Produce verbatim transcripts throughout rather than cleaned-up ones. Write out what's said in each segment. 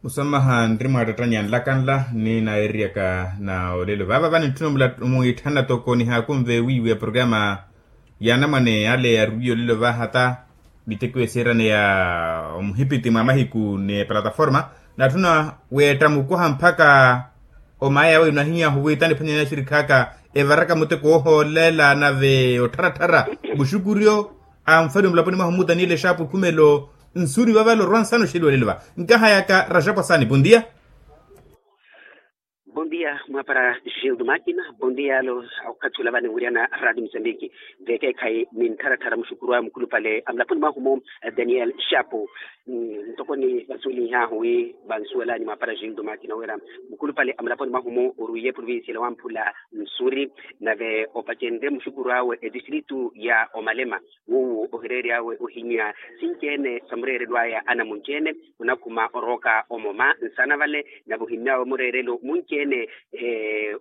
Musamaha nri mwaattattanya nlakanla ni naeriyaka na olelo vaava vaninttuna omwiitthana toko nihaakunve wiiwi ya programa ya anamwane ale yarwiye olelo vaahata miteko eseerane ya omuhipiti mwa mahiku ni plataforma. Natthuna weetta mukoha mpakha omaya yawe nahiyahu wiittani phwanyani axirikhaaka evaraka muteko ohoolela nave ottharattharra muxukuryo a mfali omulaponi mwahu mu daniyeli exaapu khumelo. Nsuuri vavale orwa nsana oxeliwa olelo va nkahayaka raxapu asani bondia. Bondia mwapara gildo makina. Bondia alo okhathi ola vaniwiriyana radio musambiki. Vekeekhayi ni nttharattharra muxukurwa mukhulupale amulaponi mwahu mu daniyeli exaapu. Ntoko ni vasuwelihahu wi vansuwelani mwapara gildo makina wira mukhulupale amulaponi mwahu mu orwiye provincia ela wamphula nsuuri nave opacenrye muxukurwa awe etistritu ya omalema. Wuwo ohireery'awe ohinya sinci-ene sa mureerelo aya anamunci-ene onakhuma orooka omoma nsana vale nave ohimmy'awe mureerelo munci-ene.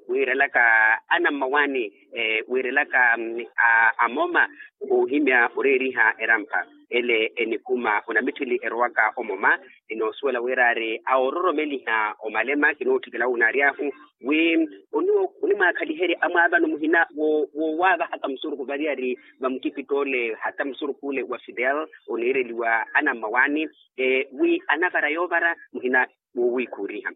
Wiirelaka anammawaani wiirelaka amoma ohimya oreeriha erampha ele enikhuma onamitthili erowaka omoma. Enoosuwela wira ari awoororomeliha omalema kinootthikela wunaaryahu wi onimwaakhaliherya amwaavano muhina wowaavahaka musurukhu variyari vamukipittoole hata musurukhu ole wa fidel oniireliwa anammawaani wi anavara yoovara muhina wowiikhuuriha.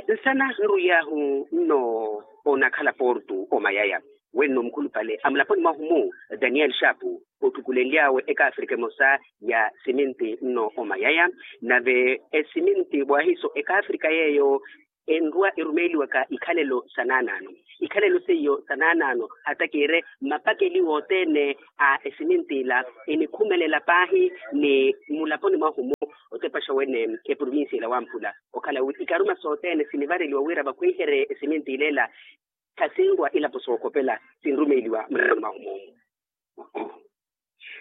Nsana nrwiyahu nno onakhala portu omayaya wenno mukhulupale amulaponi mwahu mu daniyeli xaapu otthukulenly'awe ekaafrika emosa ya siminti nno omayaya. Nave esiminti waahiso ekaafrika yeeyo enrwa erumeeliwaka ikhalelo sa naanaano ikhalelo seiyo sa naanaano hata kiire mmapakeliwa othene a esiminti ila enikhumelela paahi ni mulaponi mwahu mu otepaxa wene eprovincia ila wamphula okhala wi ikaruma sothene sinivareliwa wira vakhwiherye esiminti ileela khasinrwa ilapo sookhopela sinrumeeliwa mulaponi mwahu mu.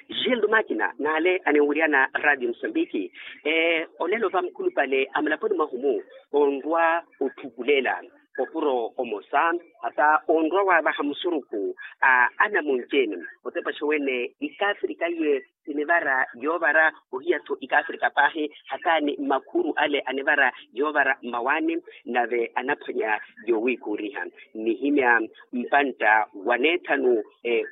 Gildo makina n'ale aninwiriyana radio musambiki. Olelo va mukhulupale amulaponi mwahu mu onrwa otthukulela opuro omosa hata onrwa waavaha musurukhu a anamunci-ene otepaxa wene ikaafrika iye sinivara yoovara ohiya-tho ikaafrika paahi hata ni makhuru ale anivara yoovara mmawaani nave anaphwanya yoowiikhuuriha nihimya mpantta wa neethanu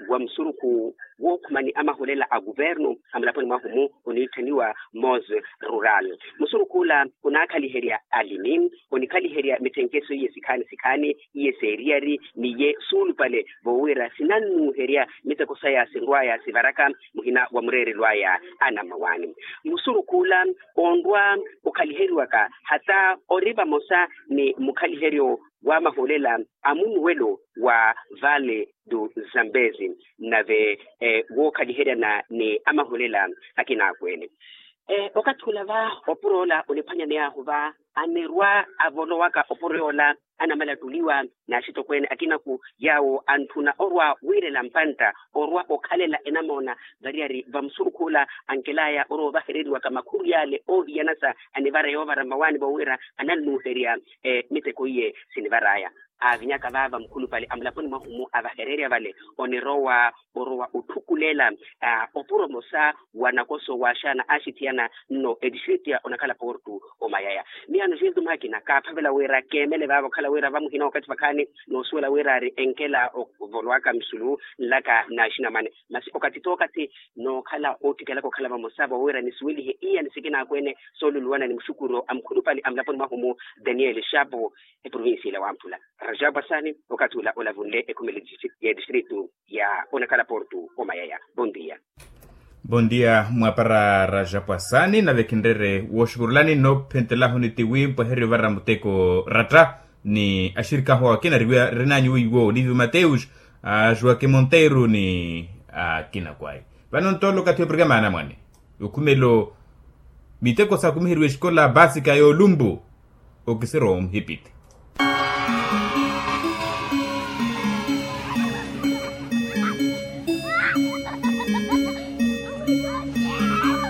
wa musurukhu wookhumani amaholela a kuvernu amulaponi mwahu mu oniitthaniwa mose rural. Musurukhu ola onaakhaliherya alimi onikhaliherya mithenkeso iye sikhaani sikhaani iye seeriyari n'iye suulupale voowira sinannuuherya miteko saya sinrw'aya sivaraka muhina wa mureerelo aya anammawaani. Musurukhu ola onrwa okhaliheriwaka hata ori vamosa ni mukhaliheryo wa maholela a munuwelo wa vale du zambezi nave wookhaliheryana ni amaholela akina akweene. Okathi ola va opuro ola oniphwanyaney'ahu va anirwa avolowaka opuro yoola anamalattuliwa n'axitokweene akinaku yaawo antthuna orwa wiirela mpantta orwa okhalela enamoona variyari vamusurukhu ola ankel'aya orwa ovahereriwaka makhuru yaale oohiyanasa anivara yoovara mmawaani voowira anannuuherya miteko iye sinivar'aya. Aavinyaka vaava mukhulupale amulaponi mwahu mu avahererya vale onirowa orowa otthukulela opuro omosa wa nakoso waaxana aaxithiyana nno etistritu ya onakhala portu omayaya. Miyaano xintu makina kaaphavela wira keemele vaava okhala wira vamuhina okathi vakhaani noosuwela wira ari enkela ovolowaka musulu nlaka n'axinamwane masi okathi t'okathi nookhala oottikelaka okhala vamosa voowira nisuwelihe iyani sikina akweene sooluluwana ni muxukuro a mukhulupale amulaponi mwahu mu daniyeli xaapu eprovincia ila wamphula. Rajabu asani okathi ula olavunle ekhumelo y'etistritu ya onakhala portu omayaya. Bondia. Bondia mwapara rajabu asani nave khinrere wooxukurulani noophentelahu ni tiwi mpwehererye ovara muteko ratta ni axirik'ahu akina rinanyu weiwo olivi mateus, ajuwake monteiro ni akina kwayi. Vano ntoolo okathi wa programa ya anamwane okhumelo miteko sakumiheriwa exikola basika y'olumbu. Okisiro omuhipiti